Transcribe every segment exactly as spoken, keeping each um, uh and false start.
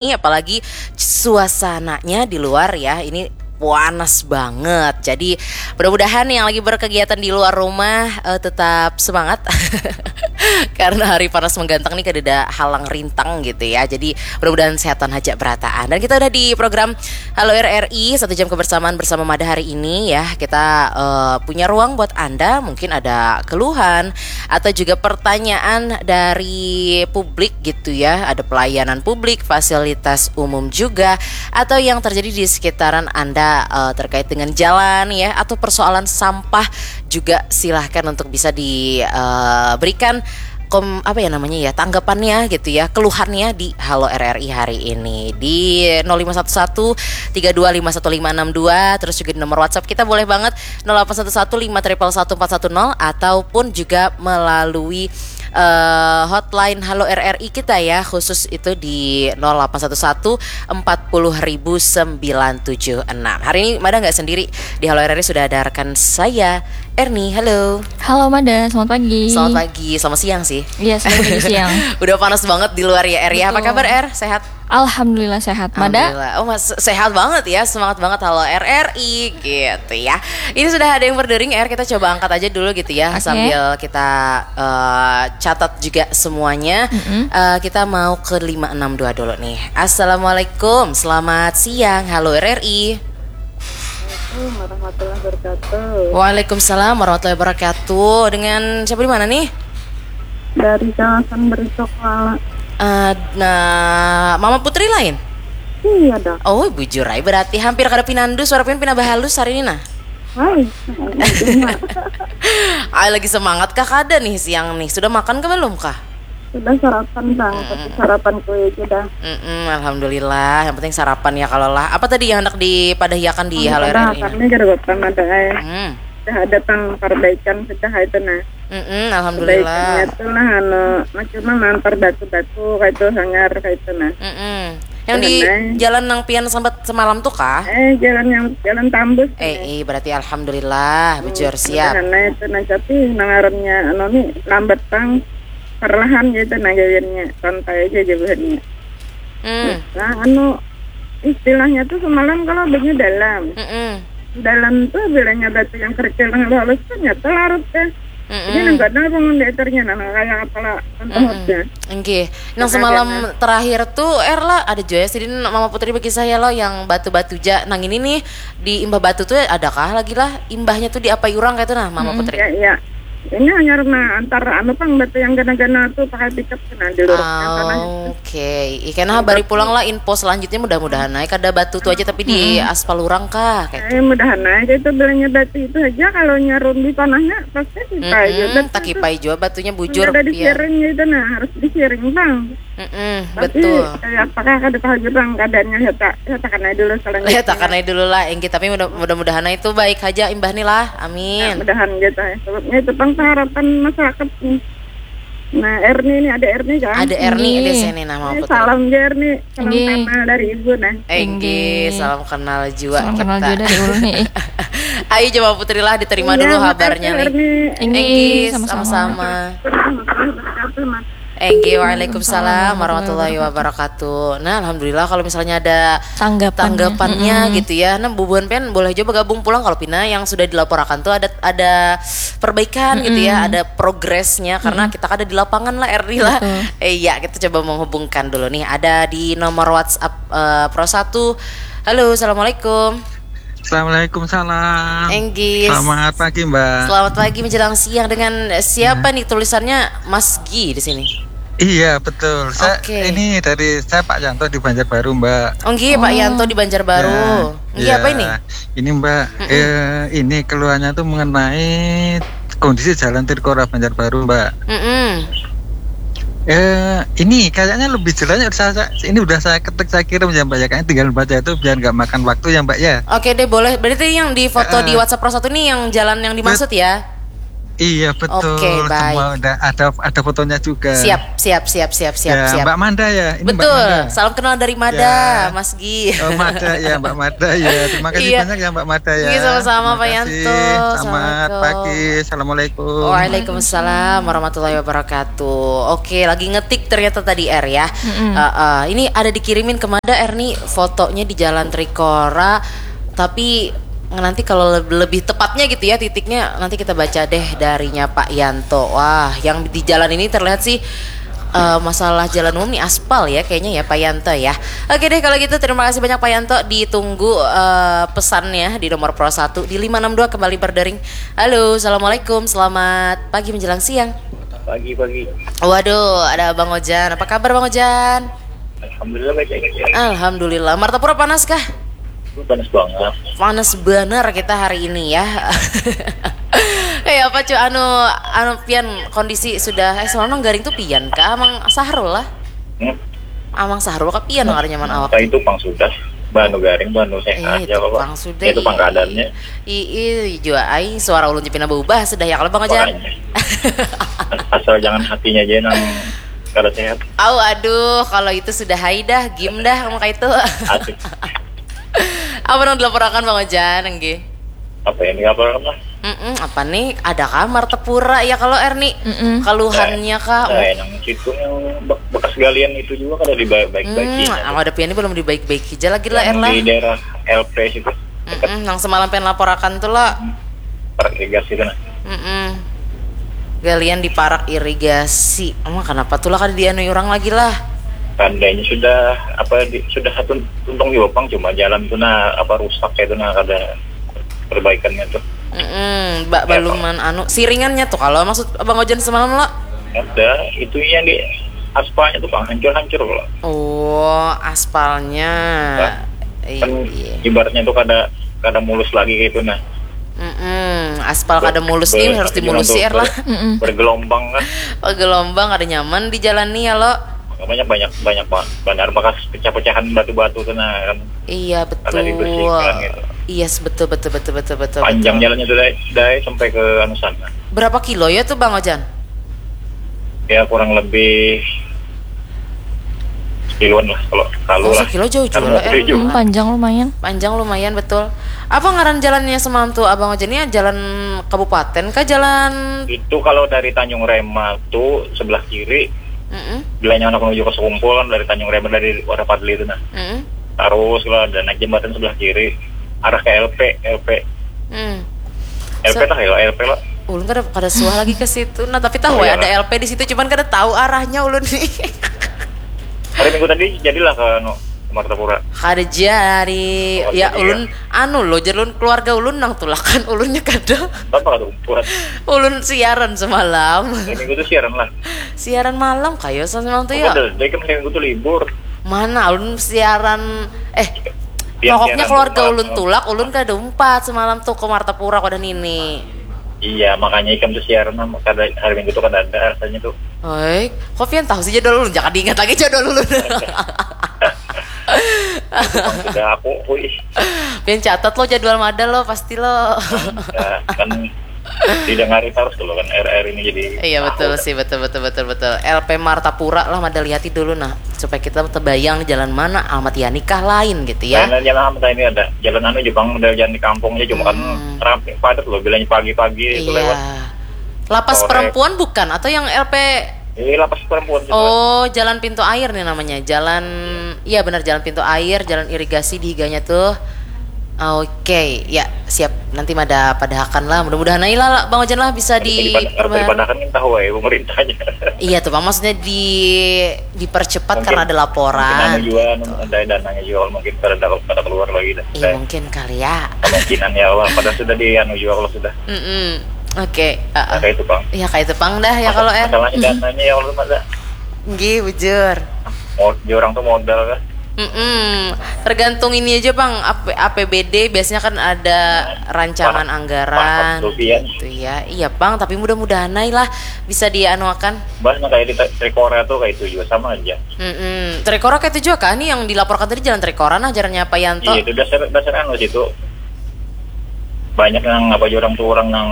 Ini apalagi suasananya di luar ya, ini panas banget. Jadi mudah-mudahan yang lagi berkegiatan di luar rumah eh, tetap semangat karena hari panas menggantang nih, kada ada halang rintang gitu ya. Jadi mudah-mudahan sehatan aja berataan. Dan kita udah di program Halo R R I, satu jam kebersamaan bersama Mada hari ini ya. Kita eh, punya ruang buat Anda, mungkin ada keluhan atau juga pertanyaan dari publik gitu ya. Ada pelayanan publik, fasilitas umum juga, atau yang terjadi di sekitaran Anda eh, terkait dengan jalan ya, atau persoalan sampah juga, silahkan untuk bisa diberikan kom apa ya namanya ya, tanggapannya gitu ya, keluhannya di Halo R R I hari ini di nol lima satu satu tiga dua lima satu lima enam dua, terus juga di nomor WhatsApp kita boleh banget nol delapan satu satu lima triple satu empat satu nol, ataupun juga melalui eh, hotline Halo R R I kita ya, khusus itu di nol delapan satu satu empat puluh ribu sembilan tujuh enam. Hari ini Mada nggak sendiri, di Halo R R I sudah ada rekan saya, Erni. Halo. Halo Mada, selamat pagi. Selamat pagi, selamat siang sih. Iya, selamat pagi siang. Udah panas banget di luar ya, Er ya. Apa Betul. Kabar, Er? Sehat? Alhamdulillah sehat. Mada? Alhamdulillah. Oh, mas, sehat banget ya, semangat banget, Halo R R I gitu ya. Ini sudah ada yang berdering, Er, kita coba angkat aja dulu gitu ya, Oke. Sambil kita eh, catat juga semuanya. Mm-mm. Eh, kita mau ke lima enam dua dulu nih. Assalamualaikum, selamat siang, Halo R R I. Assalamualaikum warahmatullahi wabarakatuh. Waalaikumsalam warahmatullahi wabarakatuh. Dengan siapa, di mana nih? Dari kawasan Berisok Lala. Eh, nah, Mama Putri lain? Iya dah. Oh, bujur ai, berarti hampir kada pinandu, suara pian pina bahalus hari ini nah. Hai. Ai, lagi semangat kah kada nih siang nih? Sudah makan kah belum kah? Sudah sarapan bang, tapi sarapan kue aja dah. Mm-mm, alhamdulillah, yang penting sarapan ya kalau lah. Apa tadi yang hendak dipadahiakan di Halo Padahal R R I? Kami kada bapak mada eh. Hmm. Sudah ada pang perbaikan sudah itu nah. Mm-mm, alhamdulillah. Perbaikannya tuh lah anu macam mampar batu-batu kayak itu hangar kayak itu nah. Mm-mm. Yang di Benar. Jalan nang pian sambat semalam tuh kah? Eh jalan yang jalan tambus. Eh, eh, berarti alhamdulillah, bujur siap. Nah itu nah tapi nangarannya anu nih lambat bang, perlahan gitu nah gawiannya, santai aja jawabannya. Hmm. Nah anu istilahnya tuh semalam kalau banyu dalam. Mm-mm. Dalam tuh bilanya batu yang kerikil dengan halus tuh nyata larut deh. Jadi Mm-mm. nang gadang bangun datarnya nah nang kayak kepala Mm-mm. pentahutnya. Nggih. Nang Ada, semalam ada. Terakhir tuh Er lah, ada juga ya sidin Mama Putri bagi saya lo yang batu-batu ja. Nang ini nih di Imbah Batu tuh adakah lagi lah imbahnya tuh diapai urang kayak itu nah Mama Putri? Ya iya. Ini hanya rumah antar anu pang batu yang gana-gana tuh pakai pickup nah di lurus yang tanah itu. Oke, ikan habari pulang lah info selanjutnya, mudah-mudahan naik ada batu tuh aja tapi di aspal urang kah kayak Eh mudahan aja itu bilanya batu itu aja kalau nyarun di tanahnya pasti kita aja Mm-mm, tak kipai jua batunya bujur Ada di pian. Sharing gitu nah harus di Sharing bang. Mm-mm, Tapi betul. Kayak apakah kada tahu aja bang keadaannya kita kita kan aja dulu selanjutnya. Lihat akan aja dulu lah, Enggi. Tapi mudah, mudah-mudahan itu baik aja imbah nih lah. Amin. Mudahan gitu ya. Sebabnya itu pang harapan masyarakat nih. Nah Erni ini ada Erni kan. Ada Erni Nggih. Di sini nama Ini aku tuh. Salam ya Erni. Salam Nggih. kenal dari ibu nah. Enggi, Nggih. Salam kenal juga Salam kita. Kenal juga dari ulun nih. Ayo coba Putri lah diterima Iya, dulu makasih, kabarnya nih. Erni. Enggi, Enggi, sama-sama. Sama-sama. Warahmatullahi wabarakatuh mas. Enggi, waalaikumsalam warahmatullahi wabarakatuh. Nah, alhamdulillah kalau misalnya ada Tanggapannya. tanggapannya Mm-mm. Gitu ya. Nah, bubuhan pian boleh juga bergabung pulang kalau pina yang sudah dilaporkan tuh ada ada perbaikan gitu ya, ada progresnya karena kita kada di lapangan lah Erni lah. Betul. Eh, iya, kita coba menghubungkan dulu nih. Ada di nomor WhatsApp eh, Pro satu. Halo, assalamualaikum. Assalamualaikum salam. Enggi. Selamat pagi Mbak. Selamat pagi menjelang siang. Dengan siapa nih tulisannya Mas Gi di sini? Iya betul. Saya Oke. Ini dari saya Pak Yanto di Banjarbaru Mbak. Oh, Enggi, Pak Yanto di Banjarbaru. Ya, Enggi, ya. Apa ini? Ini Mbak, eh, ini keluhannya tuh mengenai kondisi jalan Tirkora Banjarbaru Mbak. Mm-mm. Eh, ini kayaknya lebih jelasnya saya, saya- ini udah saya ketik saya kirim ya Mbak ya, kayaknya tinggal baca itu biar nggak makan waktu ya Mbak ya. Oke deh, boleh. Berarti yang di foto di Heeh. WhatsApp Pro satu nih yang jalan yang dimaksud ya? Iya, betul. Oke, baik. Semua udah ada, ada fotonya juga. Siap, siap, siap, siap, siap, Ya, siap. Mbak Manda ya? Ini Mbak Betul. Manda. Salam kenal dari Mada, Ya. Mas Gi. Oh, Mada ya, Mbak Mada ya. Terima kasih Iya. banyak ya, Mbak Mada ya. Iya, sama-sama, Terima Pak kasih. Yanto. Selamat Assalamualaikum. Pagi. Assalamualaikum. Waalaikumsalam warahmatullahi wabarakatuh. Oke, lagi ngetik ternyata tadi, Er, ya. Eh, eh, ini ada dikirimin ke Mada, Er, nih, fotonya di Jalan Trikora. Tapi nanti kalau le- lebih tepatnya gitu ya titiknya, nanti kita baca deh darinya Pak Yanto. Wah, yang di jalan ini terlihat sih eh, masalah jalan umum nih aspal ya kayaknya ya, Pak Yanto ya. Oke deh, kalau gitu terima kasih banyak Pak Yanto. Ditunggu eh, pesannya di nomor pro satu di lima enam dua, kembali berdering. Halo, assalamualaikum, selamat pagi menjelang siang. Pagi-pagi. Waduh, ada Bang Ojan. Apa kabar, Bang Ojan? Alhamdulillah, baik-baik aja. Alhamdulillah. Martapura panas kah? Itu panas banget. Panas bener kita hari ini ya. Eh, apa cu, anu, anu, pian, kondisi sudah, eh, semalam nang garing tuh pian kah, Amang Sahrul lah? Hmm. Amang Sahrul kah pian nang kada nyaman awak? Nah, itu pang sudah. Banu garing, banu sehat Eh, ya, itu Bapak. pang sudah, Itu iya. Pang keadaannya. Ii, jua ai, suara ulun ja pina berubah sudah ya kalau Bang Ojan. Makanya. Asal jangan hatinya aja nang kada sehat. Au, aduh, kalau itu sudah hai dah, game dah, kamu kayak itu. Asik. Apa nang dilaporakan, Bang Ojan, nggih? Apa yang dilaporkan lah? Mm-mm, apa nih? Ada kah Martapura ya kalau, Er, nih? Mm-mm. Keluhannya kah? Nah, yang situ yang be- bekas galian itu juga kada dibaik-baiki. Hmm, aku ada pian ini belum dibaik-baiki aja lagi lah, Er, Yang lah. Di daerah L P situ, dekat Mm-mm, nang semalam pian laporakan tuh lah. Parak Irigasi itu, nah. Mm-mm. Galian di parak irigasi. Emang kenapa tuh lah kada dianui orang lagi lah? Tandanya sudah apa di, sudah satu tuntung juga, Pang, cuma jalan tuh, nah, apa, rusak kayak itu, nah, kada perbaikannya tuh. Mm-mm, ba- Ya, baluman anu, siringannya tuh kalau maksud Abang Ojan semalam lo. Ada itu yang di aspalnya tuh, Pang, hancur-hancur loh. Oh, aspalnya. Kan Iya. Ibaratnya tuh kada kada mulus lagi gitu, nah. Mm-mm, aspal kada mulus nih Ber- harus apa, dimulusi, bilang Er, lah. tuh, ber- bergelombang kan. Oh, gelombang kada nyaman dijalani ya lo. Makanya banyak banyak ba- banar bekas pecah-pecahan batu-batu tuh, nah, kan. Iya, betul. Kada dibersihkan gitu. Yes, betul, betul, betul, betul, betul. Panjang Betul. Jalannya tuh dari, dari sampai ke anu sana. Berapa kilo ya tuh, Bang Ojan? Ya, kurang lebih sekiloan lah kalau kalau Oh, lah. sekilo jauh juga, Karena Er. tujuh. Hmm, panjang lumayan. Panjang lumayan, betul. Apa ngaran jalannya semalam tuh, Abang Ojan? Ini jalan kabupaten kah, jalan? Itu kalau dari Tanjung Rema tuh sebelah kiri, Mm-mm, bilanya anak menuju ke Sekumpul kan, dari Tanjung Rema, dari Wadah Padli itu, nah. mm-mm, Terus lah, dan naik jembatan sebelah kiri, arah ke L P, L P. mm. L P So- tah ya, L P lah. Ulun kada kada suah lagi ke situ. Nah, tapi tahu Oh, ya iya. Ada L P di situ, cuman kada tahu arahnya ulun nih. Hari Minggu tadi jadilah ke, anu, ke Martapura. Kada jari. Oh, Ya, jadi ulun anu lo, jar ulun, keluarga ulun nang tulakan, ulunnya kada. Apa kata umpuan? Ulun siaran semalam. Hari Minggu tuh siaran lah. Siaran malam kayo semalam tuh Oh, ya. Betul, jadi kan hari Minggu tuh libur. Mana ulun siaran, eh, Tiap pokoknya siaran keluarga tuh ulun malam. Tulak, ulun kada umpat semalam tuh ke Martapura, kada nini. Iya, makanya ikam tuh siaran sama kada, hari Minggu tuh kada ada rasanya tuh. Hei, kok pian tahu sih jadwal ulun? Jangan diingat lagi jadwal ulun. Sudah aku, wih. Pian catat lo jadwal Mada lo, pasti lo. Ya, kan didengari terus dulu kan R R ini jadi. Iya, betul tahu. Sih, betul, betul, betul, betul. L P Martapura lah, Mada lihati dulu nah, supaya kita terbayang nih jalan mana, alamat ya nikah lain gitu ya. Lain-lain jalan apa ini ada? Jalan anu Jepang, model jalan di kampung aja, cuma kan Hmm. ramai, padat loh, bilanya pagi-pagi itu Iya. Lewat. Lapas Sore. Perempuan bukan? Atau yang L P? Ini lapas perempuan gitu. Oh, Jalan Pintu Air nih namanya. Jalan, iya benar, Jalan Pintu Air, jalan irigasi di higanya tuh. Oke, ya siap. Nanti Mada padahakan lah. Mudah-mudahan aja lah, Bang Ojan lah, bisa Harus di dipada- harus dipadahkan kan tahu ya pemerintahnya. Iya tuh, Bang, maksudnya di dipercepat Mungkin- karena ada laporan. Mungkin anu juga, anu, ada dananya juga, kalau mungkin pada ada pada keluar lagi dah. Iya, mungkin kali ya. Kemungkinan ya Allah, pada sudah di anu juga kalau sudah. Mm-mm. Oke, heeh. Nah, kayak itu, Bang. Ya kayak itu pang dah ya kalau, Er. Masalahnya dananya ya Allah, masa Nggih, bujur. mau di orang tuh modal kan. Mm-mm. Tergantung ini aja, Bang, A P- A P B D biasanya kan ada rancangan Wah, anggaran wah, rupiah. Gitu ya. Iya, Bang, tapi mudah-mudahan aja lah bisa dianuakan. Bahkan kayak di Trikora tuh kayak itu juga sama aja. Mm-mm. Trikora kayak itu juga kan nih yang dilaporkan tadi, jalan Trikora nah, jalannya Pak Yanto. Iya, itu dasar dasar anu situ. Banyak yang apa aja orang tuh orang yang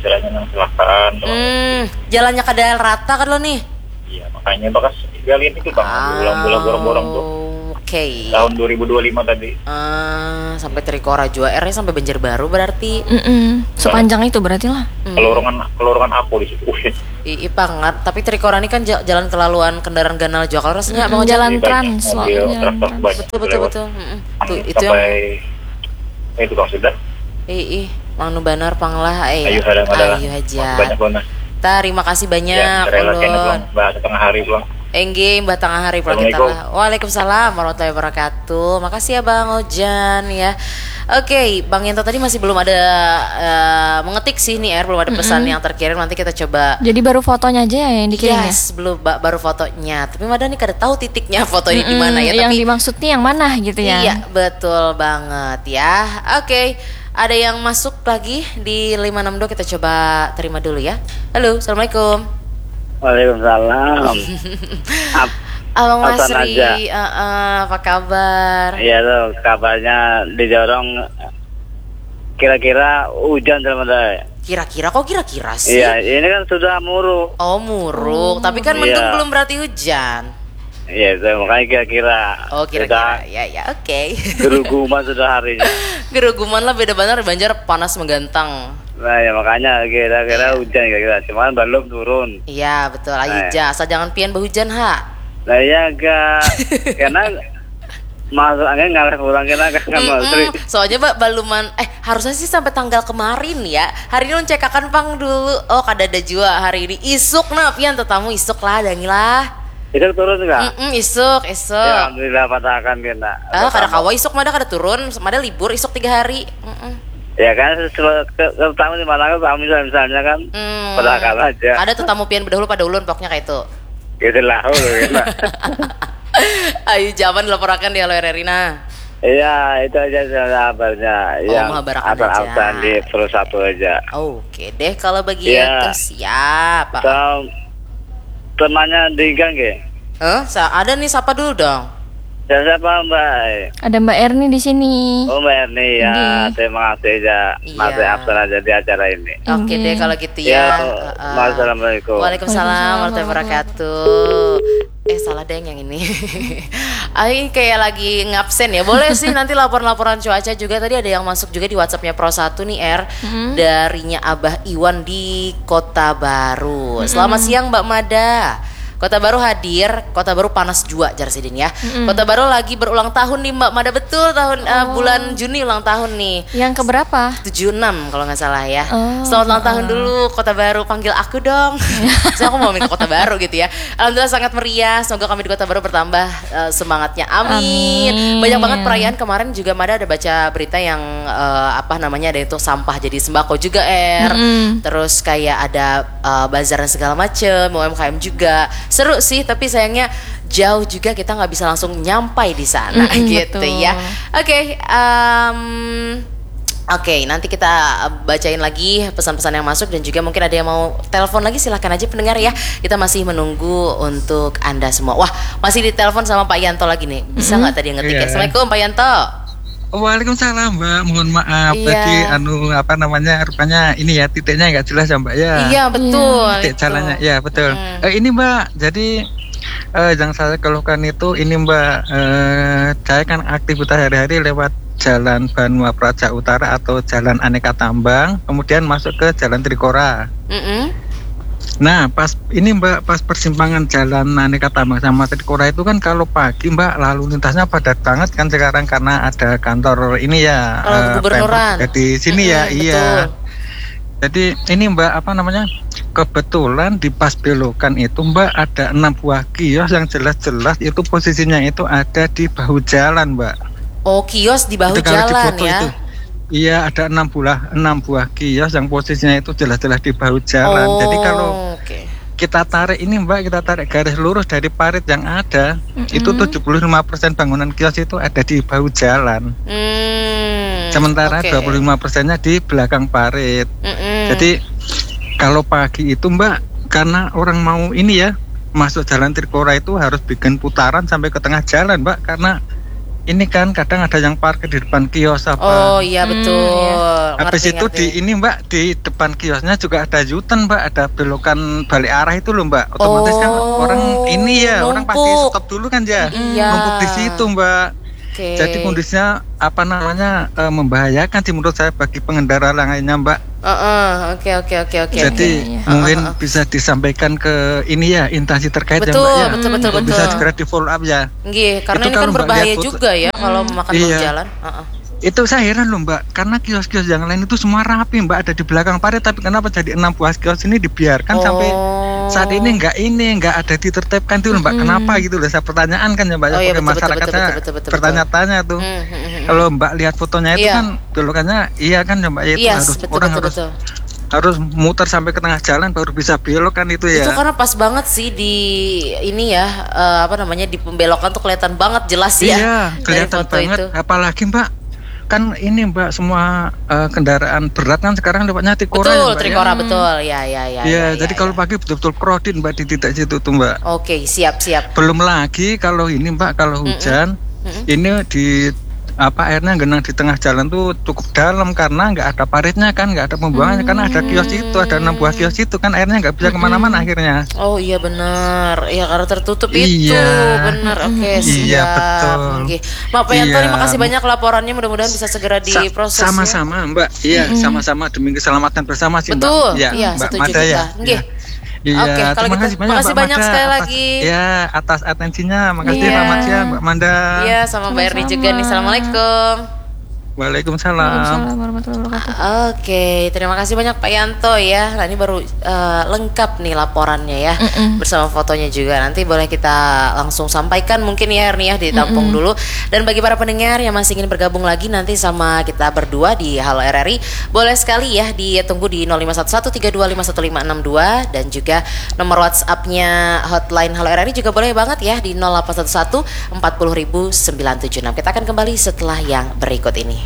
Istilahnya nang kecelakaan. Hmm, jalannya kada rata kan lo nih? Iya, makanya bakas gali ini tuh, Bang. Bulan-bulan borong-borong tuh. Oke. Tahun dua ribu dua puluh lima tadi. Ah, sampai Trikora jua, R-nya sampai Banjarbaru berarti. Mm-mm. Sepanjang itu berarti lah. Kelurungan kelurungan apa di situ? Wih, Ii banget, tapi Trikora ini kan ja- jalan kelaluan kendaraan ganal juga kalau rasanya abang Ojak. Jalan banyak trans, mobil, jalan truk trans. banyak Betul betul lewat. Betul. Mm-mm. Tuh itu yang Sampai eh itu, Bang, sudah. Ii, mangnu banar pang lah. Eh, Ayo, ada, ada. Ayo aja. Banyak banget. Terima kasih banyak. Ya, rela kena, Ulun. Bang. Bahasa tengah hari, Bang. Enggih, mbah tengah hari pula kita Assalamualaikum. Lah. Waalaikumsalam warahmatullahi wabarakatuh. Makasih ya Bang Ojan ya. Oke, Bang Yanto tadi masih belum ada eh, mengetik sih nih, Er, belum ada pesan yang terkirim. Nanti kita coba. Jadi baru fotonya aja ya yang dikirim ya? Yes, belum ba- baru fotonya. Tapi Mada nih kada tahu titiknya foto ini di mana ya. Yang Tapi dimaksud nih yang mana gitu ya? Iya, betul banget ya. Oke, ada yang masuk lagi di lima enam dua, kita coba terima dulu ya. Halo, assalamualaikum. Waalaikumsalam. Ap- Abang Hasan Masri, aja. eh, eh, apa kabar? Iya tuh, kabarnya didorong kira-kira hujan sama saya. Kira-kira kok kira-kira sih? Iya, ini kan sudah muruk. Oh, muruk, tapi kan Iya. mendung belum berarti hujan. Iya, itu makanya kira-kira. Oh, kira-kira. Ya ya, oke. Geruguman sudah harinya. Geruguman lah, beda banget Banjar panas menggantang. Nah, ya makanya kira-kira hujan kira-kira. Cuman belum turun. Iya, betul. Ayo Nah. Ja, asal jangan pian behujan ha. Nah, iya agak karena masuk angin ngalir pulang kena kan Mas Tri. Mm-mm. Soalnya ba baluman eh harusnya sih sampai tanggal kemarin ya. Hari ini ulun cekakan pang dulu. Oh, kada ada jua hari ini. Isuk nah pian tetamu isuk lah, dangi lah. Itu turun enggak? Mm-mm, isuk, isuk. Ya, alhamdulillah patahakan kena. Ah, kada kawa isuk, Mada kada turun, Mada libur isuk tiga hari. Mm-mm. Ya kan, sesuai ke, ke tamu di mana kan tamu misalnya, misalnya kan Hmm. Patahakan aja. Ada tetamu pian bedahulu pada ulun pokoknya kayak itu. Gitu lah, oh, gitu. Ayo, jaman dilaporakan di Halo R R I nah. Iya, itu aja sebenarnya kabarnya. Oh, Yang menghabarkan absen-absen aja. Di Pro Satu aja. Oke deh, kalau begitu Iya. Siap. Sama temannya Dingga nggih? Hah? Sa- ada nih, sapa dulu dong. Ya, siapa Mbak? Ada Mbak Erni di sini. Oh, Mbak Erni ya. Nggih. Terima kasih ya. Iya. Masih absen aja di acara ini. Oke deh, Nggih. kalau gitu Ya, ya. Heeh. Assalamualaikum. Waalaikumsalam Waalaikumsalam warahmatullahi wabarakatuh. Eh, salah deh yang ini. Ayo, kayak lagi ngabsen ya. Boleh sih nanti laporan-laporan cuaca juga. Tadi ada yang masuk juga di WhatsApp-nya Pro Satu nih, Er. Darinya Abah Iwan di Kota Baru. Selamat siang, Mbak Mada. Kota Baru hadir, Kota Baru panas jua, jar sidin ya. Kota Baru lagi berulang tahun nih, Mbak Mada, betul tahun eh, bulan Juni ulang tahun nih. Yang keberapa? Tujuh enam kalau nggak salah ya. Oh, Selamat ulang tahun dulu Kota Baru, panggil aku dong. Saya aku mau main ke Kota Baru gitu ya. Alhamdulillah sangat meriah. Semoga kami di Kota Baru bertambah eh, semangatnya. Amin. Amin. Banyak banget perayaan kemarin juga, Mada ada baca berita yang eh, apa namanya, ada itu sampah jadi sembako juga, Er. Terus kayak ada eh, bazar dan segala macem, U M K M juga. Seru sih, tapi sayangnya jauh juga, kita nggak bisa langsung nyampai di sana gitu betul. Ya. Oke, em, Oke, nanti kita bacain lagi pesan-pesan yang masuk dan juga mungkin ada yang mau telepon lagi, silahkan aja pendengar ya. Kita masih menunggu untuk Anda semua. Wah, masih ditelepon sama Pak Yanto lagi nih. Bisa nggak tadi yang ngetik ya? Iya. Assalamualaikum Pak Yanto. Waalaikumsalam Mbak, mohon maaf Iya. Tadi anu apa namanya rupanya ini ya titiknya nggak jelas ya Mbak ya. Iya, betul. Titik Itu. Jalannya ya betul. Mm-mm. Eh, ini Mbak, jadi eh, yang saya keluhkan itu ini Mbak, eh, saya kan aktivitas hari-hari lewat Jalan Banua Praja Utara atau Jalan Aneka Tambang, kemudian masuk ke Jalan Trikora. Mm-mm. Nah, pas ini Mbak, pas persimpangan Jalan Aneka Tambang sama Trikora itu kan kalau pagi Mbak lalu lintasnya padat banget kan sekarang karena ada kantor ini ya Kalau eh, kegubernuran. Pemprov di sini ya, Mm-mm, iya. betul. Jadi ini Mbak apa namanya? Kebetulan di pas belokan itu Mbak ada enam buah kios yang jelas-jelas itu posisinya itu ada di bahu jalan Mbak. Oh, kios di bahu Itu kalau di jalan foto ya. Itu. Iya, ada enam buah enam buah kios yang posisinya itu jelas-jelas di bahu jalan. Jadi kalau Oke. Kita tarik ini Mbak, kita tarik garis lurus dari parit yang ada, itu tujuh puluh lima persen bangunan kios itu ada di bahu jalan. Hmm, Sementara oke. Dua puluh lima persennya di belakang parit. Mm-mm. Jadi kalau pagi itu Mbak, karena orang mau ini ya, masuk jalan Trikora itu harus bikin putaran sampai ke tengah jalan Mbak, karena ini kan kadang ada yang parkir di depan kios apa. Oh iya betul. Habis Ngerti, itu di ngerti. ini, Mbak, di depan kiosnya juga ada U-turn, Mbak, ada belokan balik arah itu loh, Mbak. Otomatis kan Oh, orang ini ya, orang pasti numpuk. Stop dulu kan ya. Iya. Numpuk di situ, Mbak. Oke. Jadi kondisinya apa namanya, eh, membahayakan sih menurut saya bagi pengendara lainnya, Mbak. Heeh, oke, oke, oke, oke. Jadi Iya, iya. mungkin bisa disampaikan ke ini ya, instansi terkait ya, Betul, Mbak, ya. betul, betul, Untuk bisa betul. Segera di follow up ya. Nggih, karena Itu ini kan kalau Mbak berbahaya lihat foto- juga ya kalau memakan bau Iya. jalan. Heeh. Itu saya heran loh, Mbak, karena kios-kios yang lain itu semua rapi, Mbak, ada di belakang parit, tapi kenapa jadi enam buah kios ini dibiarkan sampai Oh. saat ini nggak ini, nggak ada ditertibkan tuh, Mbak. Kenapa gitu loh? Saya pertanyaan kan ya, Mbak, ya, Oh, iya, pakai betul, betul, masyarakatnya betul, betul, betul, betul. bertanya-tanya tuh. Hmm, hmm, hmm, hmm. Kalau Mbak lihat fotonya itu Iya. Kan belokannya iya kan ya, Mbak, ya, itu Yes, harus betul, orang betul, harus betul. harus muter sampai ke tengah jalan baru bisa belok kan itu ya. Itu karena pas banget sih di ini ya, eh, apa namanya, di pembelokan tuh kelihatan banget jelas ya. Iya, Dari kelihatan foto banget. Itu. Apalagi, Mbak, kan ini, Mbak, semua eh, kendaraan berat kan sekarang lewatnya Trikora Betul, ya, Mbak, ya. Trikora betul. Ya, ya, ya. Iya, Ya, jadi ya, kalau ya. Pagi betul-betul crowded, Mbak, di titik situ tuh, Mbak. Oke, siap, siap. Belum lagi kalau ini, Mbak, kalau hujan ini di apa airnya genang di tengah jalan tuh cukup dalam karena nggak ada paritnya kan, nggak ada pembuangannya karena ada kios itu, ada enam buah kios itu kan airnya nggak bisa kemana-mana akhirnya. Oh iya benar. Ya karena tertutup Iya. Itu. Benar. Oke, Iya, siap. Betul. Nggih. Mbak Payanto, Iya. Terima kasih banyak laporannya, mudah-mudahan bisa segera Sa- diproses. Ya. Sama-sama, Mbak. Iya, sama-sama demi keselamatan bersama sih, Betul. Mbak. Ya, Iya, Mbak setuju Mada ya. kita. Nggih. Iya. Iya, Oke, kalau terima gitu, kasih banyak, makasih Mbak banyak Mada, sekali atas, lagi. Ya, atas atensinya. Makasih, Iya. Selamat siang, Mbak Mada. Iya, sama Mbak Erni juga nih. Assalamualaikum. Waalaikumsalam. Waalaikumsalam warahmatullahi wabarakatuh. Oke, terima kasih banyak Pak Yanto ya. Nah, ini baru eh, lengkap nih laporannya ya, bersama fotonya juga. Nanti boleh kita langsung sampaikan mungkin ya, Erni, ya, ditampung dulu. Dan bagi para pendengar yang masih ingin bergabung lagi nanti sama kita berdua di Halo R R I, boleh sekali ya ditunggu di nol lima satu satu tiga dua lima satu lima enam dua dan juga nomor WhatsApp-nya hotline Halo R R I juga boleh banget ya di nol delapan satu satu empat puluh ribu sembilan tujuh enam. Kita akan kembali setelah yang berikut ini.